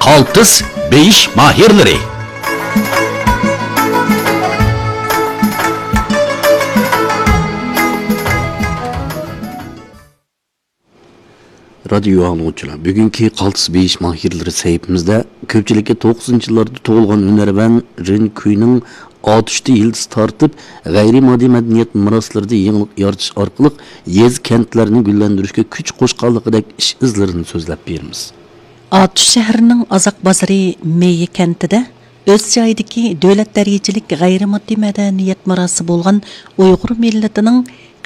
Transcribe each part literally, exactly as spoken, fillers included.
قالتىس بېيىش ماھىرلىرى. رادىيو ئاڭلىغۇچىلار، بۈگۈنكى قالتىس بېيىش ماھىرلىرى سەھىپىمىزدە كۆپچىلىككە توقسىنىنچى يىللاردا تۇغۇلغان ھۈنەرۋەن رېن كۈينىڭ ئاتۇشتا يىلتىز تارتىپ، غەيرىي ماددىي مەدەنىيەت مىراسلىرىدا يېڭىلىق يارىتىش ئارقىلىق يېزا، كەنتلەرنى گۈللەندۈرۈشكە كۈچ قوشقانلىقىدەك ئىش ئىزلىرىنى سۆزلەپ بېرىمىز. ئاتۇش شەھىرىنىڭ ئازاق بازىرى مېيى كەنتىدە ئۆز جايىدىكى دۆلەت دەرىجىلىك غەيرىي ماددىي مەدەنىيەت مىراسى بولغان ئۇيغۇر مىللىتىنىڭ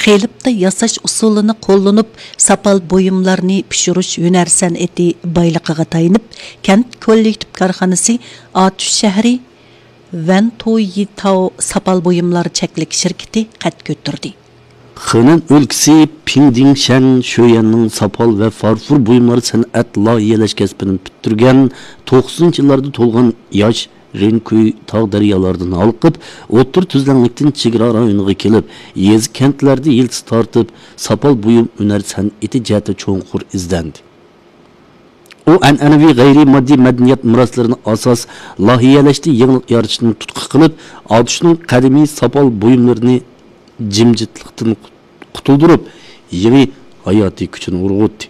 قېلىپتا ياساش ئۇسۇلىنى قوللىنىپ، ساپال بۇيۇملارنى پىشۇرۇش ھۈنەر سەنئىتى بايلىقىغا تايىنىپ، كەنت كوللېكتىپ كارخانىسى ئاتۇش شەھىرى ۋەنتويىتاۋ ساپال بۇيۇملار چەكلىك شىركىتى قەد كۆتۈردى. خېنەن ئۆلكىسى پىڭدىڭشەن شۆيەننىڭ ساپال ۋە فارفور بۇيۇملار سەنئەت لايىھەلەش كەسپىنى پۈتتۈرگەن توقسىنىنچى يىللاردا تۇغۇلغان ياش رېنكۈي تاغ دەريالاردىن ھالقىپ، ئوتتۇرا تۈزلەڭلىكتىن چېگرا رايونىغا كېلىپ، يېزا، كەنتلەردە يىلتىز تارتىپ، ساپال بۇيۇم ھۈنەر سەنئىتى جەھەتتە چوڭقۇر ئىزدەندى. ئۇ ئەنئەنىۋى غەيرىي ماددىي مەدەنىيەت مىراسلىرىنى ئاساس، لايىھەلەشتە يېڭىلىق يارىتىشنى تۇتقا قىلىپ، ئاتۇشنىڭ قەدىمىي ساپال بۇيۇملىرىنى جىمجىتلىقتىن قۇتۇلدۇرۇپ، يېڭى ھاياتىي كۈچىنى ئۇرغۇتتى.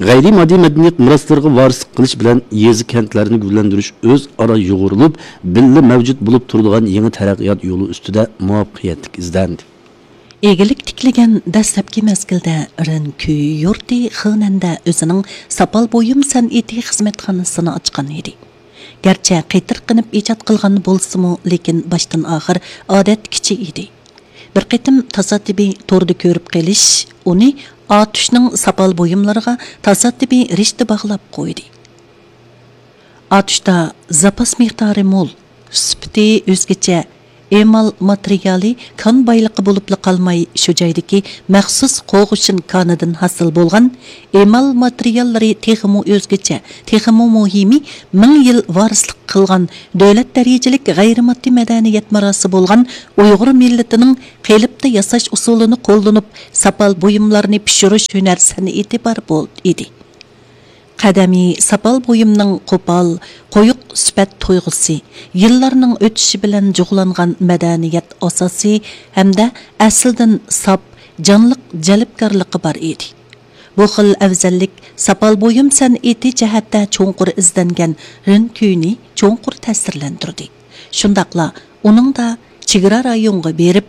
غەيرىي ماددىي مەدەنىيەت مىراسلىرىغا ۋارىسلىق قىلىش بىلەن يېزا، كەنتلەرنى گۈللەندۈرۈش ئۆزئارا يۇغۇرۇلۇپ، بىللە مەۋجۇت بولۇپ تۇرىدىغان يېڭى تەرەققىيات يولى ئۈستىدە مۇۋەپپەقىيەتلىك ئىزدەندى. ئىگىلىك تىكلىگەن دەسلەپكى مەزگىلدە رېن كۈي يۇرتى خېنەندە ئۆزىنىڭ ساپال بۇيۇم سەنئىتى خىزمەتخانىسىنى ئاچقان ئىدى. گەرچە قېتىرقىنىپ ئىجاد قىلغان بولسىمۇ، لېكىن باشتىن ئاخىر ئادەتتىكىچە ئىدى. بىر قېتىم تاسادىپىي توردا كۆرۈپ قېلىش ئۇنى ئاتۇشنىڭ ساپال بۇيۇملىرىغا تاسادىپىي رىشتە باغلاپ قويدى. ئاتۇشتا زاپاس مىقدارى مول، سۈپىتى ئۆزگىچە، ئېمال ماتېرىيالى كان بايلىقى بولۇپلا قالماي، شۇ جايدىكى مەخسۇس قوغۇشىن كانىدىن ھاسىل بولغان ئېمال ماتېرىياللىرى تېخىمۇ ئۆزگىچە، تېخىمۇ مۇھىمى، مىڭ يىل ۋارىسلىق قىلغان دۆلەت دەرىجىلىك غەيرىي ماددىي مەدەنىيەت مىراسى بولغان ئۇيغۇر مىللىتىنىڭ قېلىپتا ياساش ئۇسۇلىنى قوللىنىپ، ساپال بۇيۇملارنى پىشۇرۇش ھۈنەر سەنئىتى بار بول-، ئىدى. قەدىمىي ساپال بۇيۇمنىڭ قوپال، قويۇق سۈپەت تۇيغۇسى، يىللارنىڭ ئۆتۈشى بىلەن جۇغلانغان مەدەنىيەت ئاساسى ھەمدە ئەسلىدىن ساپ، جانلىق جەلپكارلىقى بار ئىدى. بۇ خىل ئەۋزەللىك ساپال بۇيۇم سەنئىتى جەھەتتە چوڭقۇر ئىزدەنگەن رېن كۈينى چوڭقۇر تەسىرلەندۈردى. شۇنداقلا ئۇنىڭدا چېگرا رايونغا بېرىپ،